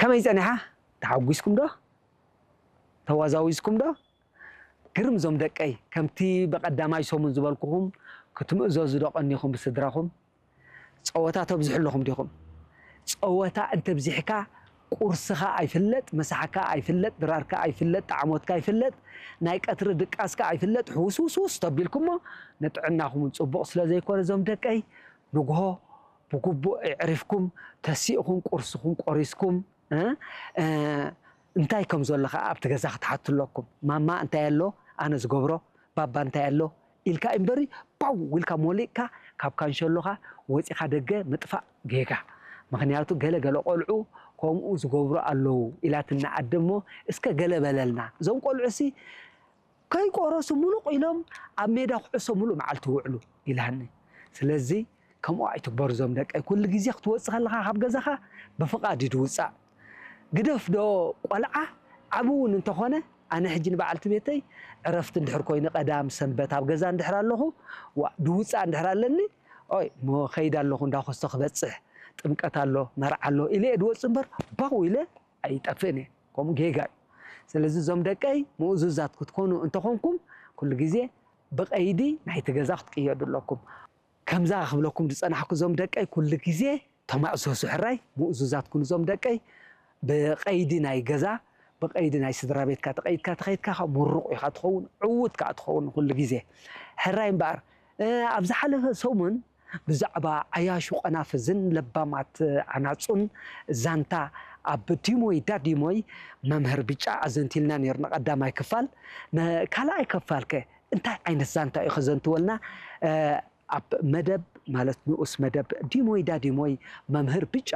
ከመይ ጸኒሓ? ተሓጒስኩም ዶ? ተዋዛዊዝኩም ዶ? ግርም ዞም ደቀይ፣ ከምቲ ብቐዳማይ ሰሙን ዝበልኩኹም፣ ክትምእዘዙ ዶ ቀኒኹም ብስድራኹም? ጸወታ ተብዝሑ ኣለኹም ዲኹም? ጸወታ እንተብዚሕካ፣ ቁርስኻ ኣይፍለጥ፣ ምሳሕካ ኣይፍለጥ፣ ድራርካ ኣይፍለጥ፣ ጣዕሞትካ ኣይፍለጥ፣ ናይ ቀትሪ ድቃስካ ኣይፍለጥ፣ ሕውስውስውስ ተቢልኩሞ፣ ንጥዕናኹም እውን ጽቡቕ ስለ ዘይኮነ፣ ዞም ደቀይ፣ ንግሆ ብግቡእ ኣዕሪፍኩም፣ ተሲእኹም፣ ቁርስኹም ቆሪስኩም፣ እ፣ እ፣ እንታይ ከም ዘሎ ኸዓ ኣብቲ ገዛ ክትሓቱ ኣለኩም። ማማ እንታይ ኣሎ? ኣነ ዝገብሮ። ባባ እንታይ ኣሎ? ኢልካ እምበሪ፣ ፓው ኢልካ ሞሊቕካ፣ ካብ ካንሸሎኻ ወፂኻ ደገ ምጥፋእ ጌጋ። ምኽንያቱ ገለ ገለ ቆልዑ ከምኡ ዝገብሩ ኣለዉ ኢላትና ኣደ እሞ፣ እስከ ገለ በለልና። እዞም ቆልዑ ሲ ከይቆረሱ ሙሉቕ ኢሎም ኣብ ሜዳ ኩዕሶ ሙሉእ መዓልቲ ይውዕሉ ኢላኒ። ስለዚ ከምኡ ኣይትግበሩ ዞም ደቀይ። ኩሉ ግዜ ክትወጽእ ከለኻ ካብ ገዛኻ ብፍቓድ እዩ ድውጻእ። ግደፍ ዶ ቆልዓ፣ ዓቢ እውን እንተኾነ፣ ኣነ ሕጂ ንበዓልቲ ቤተይ ዕረፍቲ እንድሕር ኮይኑ፣ ቀዳም ሰንበት ኣብ ገዛ እንድሕር ኣለኹ፣ ዋ፣ ድውጻእ እንድሕር ኣለኒ፣ ኦይ፣ ሞ ኸይድ ኣለኹ እንዳ ኮስቶ ክበጽሕ፣ ጥምቀት ኣሎ፣ መርዓ ኣሎ ኢለ እየ ድወጽእ እምበር፣ ባው ኢለ ኣይጠፍእን እየ። ከምኡ ጌጋ እዩ። ስለዚ እዞም ደቀይ ምእዙዛት ክትኮኑ እንተኾንኩም፣ ኩሉ ግዜ ብቐይዲ ናይቲ ገዛ ክትቅየዱ ኣለኩም። ከምዛ ክብለኩም ዝጸናሕኩ እዞም ደቀይ፣ ኩሉ ግዜ ተማእዘዙ ሕራይ፣ ምእዙዛት ኩኑ እዞም ደቀይ። ብቐይዲ ናይ ገዛ፣ ብቐይዲ ናይ ስድራ ቤትካ ተቐይድካ ተኸይድካ፣ ከዓ ምሩቕ ኢኻ ትኸውን፣ ዕዉት ከዓ ትኸውን ኩሉ ግዜ። ሕራይ እምበኣር፣ እ፣ ኣብ ዝሓለፈ ሰሙን ብዛዕባ ዓያሹ ቆናፍዝን ለባማት ዓናጹን ዛንታ ኣብ ዲሞይ ዳዲሞይ መምህር ብጫ ኣዘንቲልና ነይሩ፣ ንቐዳማይ ክፋል። ንካልኣይ ክፋልከ እንታይ ዓይነት ዛንታ እዩ ከዘንትወልና? እ፣ ኣብ መደብ፣ ማለት ንኡስ መደብ ዲሞይ ዳዲሞይ መምህር ብጫ